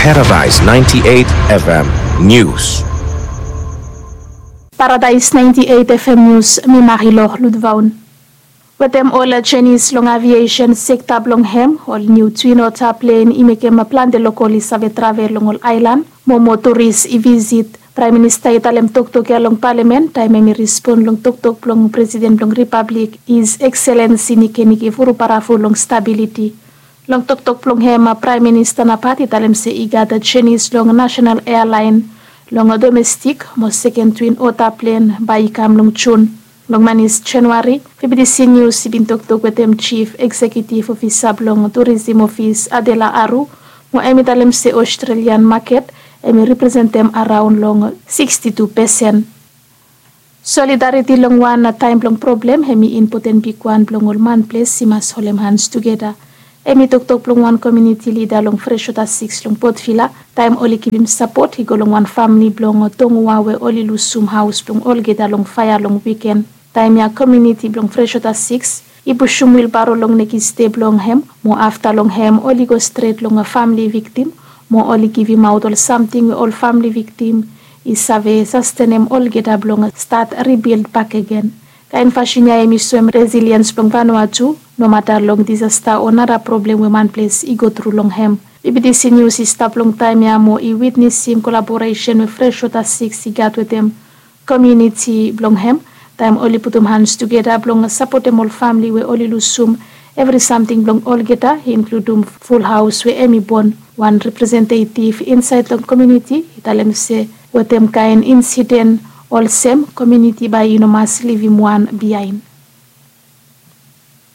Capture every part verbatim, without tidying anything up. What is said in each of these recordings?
Paradise ninety-eight F M News. Paradise ninety-eight F M News, mi Marilor Ludvaun. Wetem ol jenis long aviation sekta blong hem, ol niu Twin Otter plen i mekem plante lokol i save travel long ol aelan, mo moa turis i visit. Praem Minista i talem toktok ya long Palamen taem hem i respon long toktok blong Presiden blong Ripablik, His Excellency Nikenike Vurubaravu, long stabiliti. Long toktok blong hem, Praem Minista nabaot i talem se i gat jenis long nasenal ealaen long domestik mo seken Twin Otter plen bae i kam long Jun. Long manis Januari, V B T C Nius i bin toktok wetem Jif Eksekiutiv Ofisa blong Turisim Ofis, Adela Aru, mo hem i talem se Ostrelian maket hem i representem araon long siksti tu pesen. Solidariti long wan taem blong problem hem i impoten bigwan blong ol manples i mas holem hans tugeta. Hem i toktok blong wan komuniti lida long Freshwater sikis long Port Vila taem oli givim sapot i go long wan famle blong Tongoa we oli lusum haos blong olgeta long faea long wiken. Taem ya komuniti blong Freshwater sikis i pusum wilbaro long nekis dei blong hem, mo afta long hem oli go stret long famle viktim mo oli givimaot ol samting we ol famle viktim i save sastenem olgeta blong stat ribild bakegen. Kaen fasin ya hem i soem resiliens blong Vanuatu nomata long disasta o nara problem we manples i gotru long hem. B B T C Nius i stap long taem ya mo i witnesim kolaboresen we Freshwater sikis i gat wetem komuniti blong hem taem oli putum hans tugeta blong sapotem ol famle we oli lusum evri samting blong olgeta, inkludum ful haos we hem i bon. Wan representetiv insaed long komuniti i talem se wetem kaen insiden olsem komuniti bae i no mas livim wan biaen.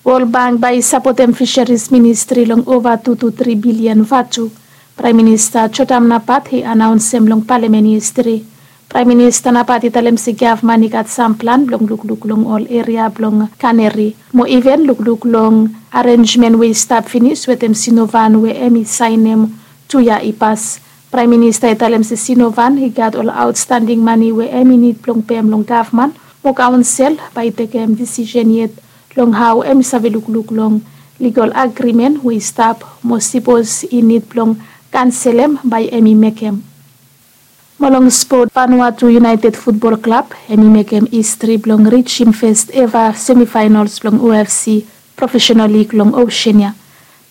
Wol Bank bae i sapotem Fisheries Ministri long ova tu tu tri bilian vatu. Praem Minista Jotam Napat i anaonsem long Palamen yestede. Praem Minista Napat i talem se gavman i gat sam plan blong lukluk long ol eria blong kaneri mo iven lukluk long arenjmen we i stap finis wetem Sinovan we hem i saenem tu yia i pas. Praem Minista i talem se Sinovan i gat ol aotstanding mane we hem i nid blong pem long gavman mo kaonsel bae i tekem disisen yet long hao hem i save lukluk long ligol agrimen we i stap mo sipos i nid blong kanselem bae hem i mekem. Mo long spot, Vanuatu United Futbol Klab hem i mekem histri blong rijim fes eva semifaenals blong O F C Profesenal Lig long Osean ya.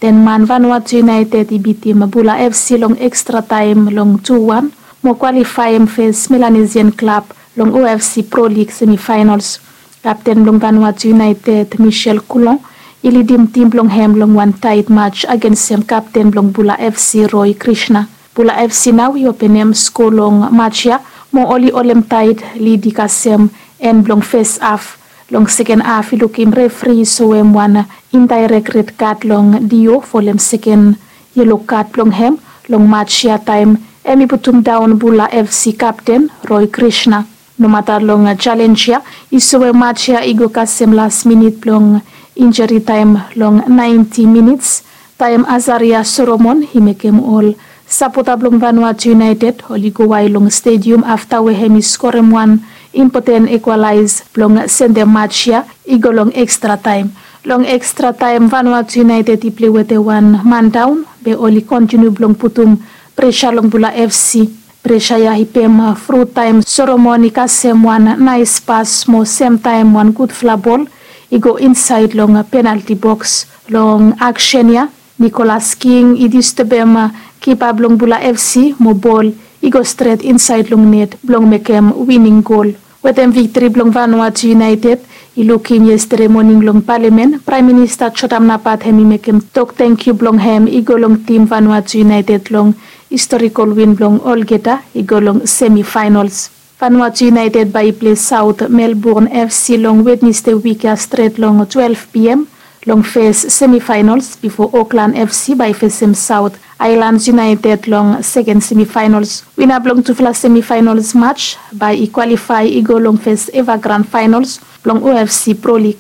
Ten man Vanuatu United i bitim Bula F C long ekstra taem long tu wan mo kwalifaem fes Melanesian klab long O F C Pro Lig semifaenals. Kapten blong Vanuatu United, Michel Coulon, i lidim tim blong hem long wan taet maj agensem kapten blong Bula F C, Roy Krishna. Bula F C nao i openem sko long maj ya mo oli holem taet lid i kasem en blong fes haf. Long seken haf i lukim refri i soem wan indaerek red kad long Dio folem seken yelo kad blong hem long maj ya taem hem i putum daon Bula F C kapten Roy Krishna. Nomata long jalenj ya i soem maj ya i go kasem las minit blong injari taem long naenti minits taem Azaria Solomon i mekem ol sapota blong Vanuatu United oli go wael long stedium afta we hem i skorem wan impoten ikwalaes blong sendem maj ya i go long ekstra taem. Long ekstra taem Vanuatu United i plei wetem wan man daon be oli kontiniu blong putum presa long Bula F C. Presa ya i pem fru taem Solomon i kasem wan naes pas mo semtaem wan gudfala bol i go insaed long penalti boks. Long aksen ya Nicholas King i distebem kipa blong Bula F C mo bol i go stret insaed long net blong mekem wining gol. Wetem viktri blong Vanuatu United i lukim yestede moning long Palamen, Praem Minista Jotam Napat hem i mekem tok tangkiu blong hem i go long tim Vanuatu United long historikol win blong olgeta i go long semifaenals. Vanuatu United bae i plei Saot Melbourne F C long Wednesde wik ya stret long twelef P M long fes semifaenals bifo Auckland F C bae i fesem Saot Aelans United long seken semifaenals. Wina blong tufala semifaenals maj bae i kwalifae i go long fes eva gran faenals blong O F C Pro Lig.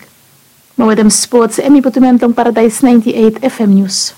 Mo wetem spots hem i putum en long Paradaes naenti eit F M Nius.